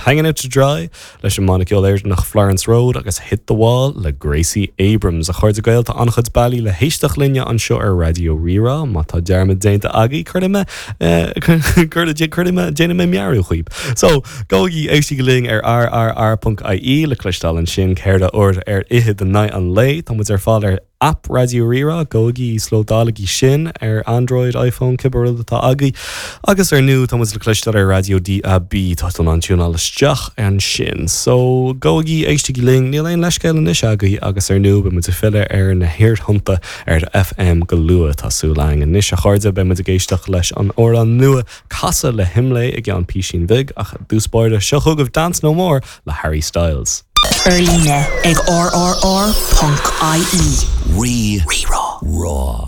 Hanging Out to Dry leis an mbanna ceoil Éireannach Florence Road agus Hit the Wall le Gracie Abrams. A chairde Gael, tá an-chuid bealaí le héisteacht linne anseo ar Raidió Rí-Rá. Má tá dearmad déanta agaibh, cuirfidh mé, cuirfidh mé, déanfaidh mé meabhrú chugaibh. So, gabhaigí, éistigí linn ar rrr.ie le cloisteáil ansin ceithre uair ar fhichead in aghaidh an lae. Tá muid ar fáil ar. Aip Raidió Rí-Rá, gabhaigí, íoslódálaigí sin ar Android, iPhone, cibé rud atá agaibh. Agus ar ndú, tá muid le cloisteáil ar Raidió DAB, tá tú in ann tiúnáil isteach ansin. So, gabhaigí, éistigí linn, níl aon leithscéal anois agaibh agus ar ndú, beidh muid ag filleadh ar na haerthonnta ar FM go luath, tá súil againn. Anois, a chairde, beidh muid ag éisteacht leis an amhrán nua Casadh le hImlé i gceann písín bhig, ach i dtús báire, seo chugaibh Dance No More le Harry Styles. Ar líne ag rrr.ie. Rí, Rá.